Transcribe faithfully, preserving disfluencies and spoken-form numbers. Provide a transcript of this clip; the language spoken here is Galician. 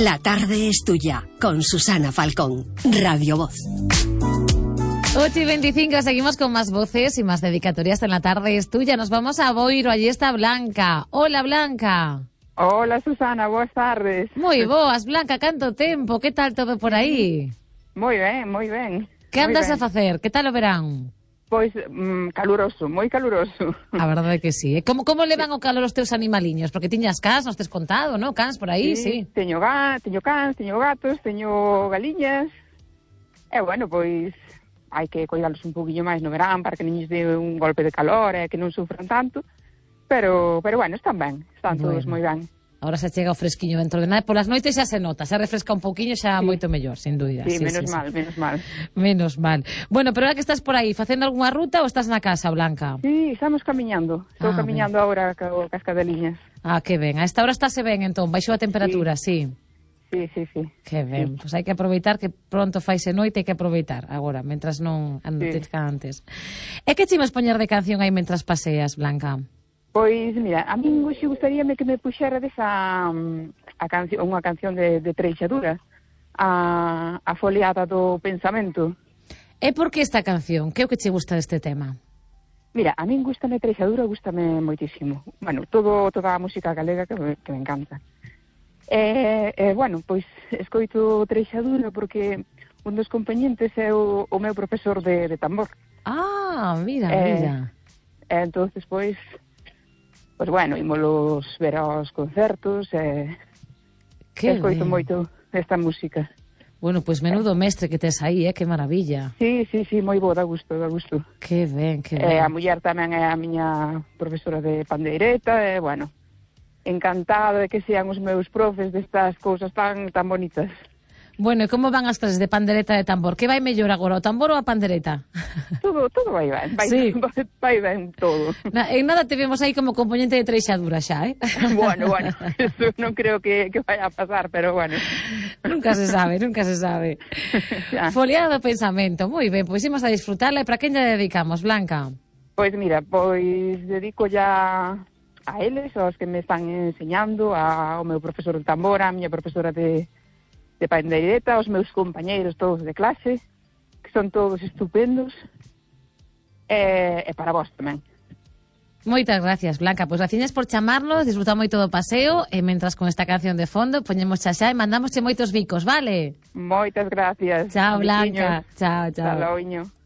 La tarde es tuya, con Susana Falcón, Radio Voz. ocho y veinticinco, seguimos con más voces y más dedicatorias en La tarde es tuya. Nos vamos a Boiro, allí está Blanca. Hola, Blanca. Hola, Susana, boas tardes. Moi boas, Blanca, canto tempo, que tal todo por aí? Moi ben, moi ben. Que andas moi ben. a facer? Que tal o verán? Pois, mm, caluroso, moi caluroso. A verdade é que sí. Como, como levan o calor os teus animaliños? Porque tiñas cans, nos tes contado, non? Cans por aí, sí. sí. Teño, ga, teño cans, teño gatos, teño galiñas. E, bueno, pois, hai que cuidalos un poquinho máis no verán para que non lles dé un golpe de calor e que non sufran tanto. Pero, pero bueno, están ben, están Bueno. todos moi ben. Ahora se chega o fresquiño dentro de nada. Polas noites xa se nota, se refresca un pouquiño xa sí. Moito mellor, sin dúbida. Sí, sí menos sí, mal, sí. menos mal. Menos mal. Bueno, pero ahora que estás por aí, facendo algunha ruta ou estás na casa, Blanca? Sí, estamos camiñando. Estou Ah, camiñando ben. Agora co cas cadeliñas. Ah, que ben. A esta hora estáse ben, entón, baixou a temperatura, sí. Sí, sí, sí. Que ben. Sí. Pois hai que aproveitar que pronto faise noite, hai que aproveitar agora, mentras non anoitezca sí. antes. E que chimas poñer de canción aí mentras paseas, Blanca? Pois, mira, a min hoxe gustaríame que me puxerades a, a canción, unha canción de, de Treixadura, a, a foliada do pensamento. E por que esta canción? Que é o que che gusta deste tema? Mira, a min gustame Treixadura, gustame moitísimo. Bueno, todo, toda a música galega que me, que me encanta. E, e, bueno, pois, escoito Treixadura porque un dos compañentes é o, o meu profesor de, de tambor. Ah, mira, e, mira. E, entonces, pois... Pois bueno, ímolos ver aos concertos e que escoito ben. moito esta música. Bueno, pois menudo mestre que tes aí, eh? Que maravilla. Sí, sí, sí, moi bo, da gusto, da gusto. Que ben, que ben. E a muller tamén é a miña profesora de pandeireta e, bueno, encantada de que sean os meus profes destas cousas tan tan bonitas. Bueno, e como van as clases de pandereta e de tambor? Que vai mellor agora, o tambor ou a pandereta? Todo, todo vai ben, vai, sí. vai, vai ben todo. Na, en nada te vemos aí como componente de Treixadura xa, eh? Bueno, bueno, eso non creo que, que vaya a pasar, pero bueno. Nunca se sabe, nunca se sabe. Foliada do pensamento, moi ben, pois imos a disfrutarla. E para quen lle dedicamos, Blanca? Pois mira, pois dedico ya a eles, aos que me están enseñando, ao meu profesor de tambor, a miña profesora de de pandeireta, aos meus compañeiros todos de clase, que son todos estupendos, e, e para vos tamén. Moitas gracias, Blanca. Pois graciñas por chamarnos, disfrutar moito do paseo, e mentras con esta canción de fondo, poñemos xa xa e mandamos moitos bicos, vale? Moitas gracias. Chao, Blanca. Chao, chao. Hasta logo.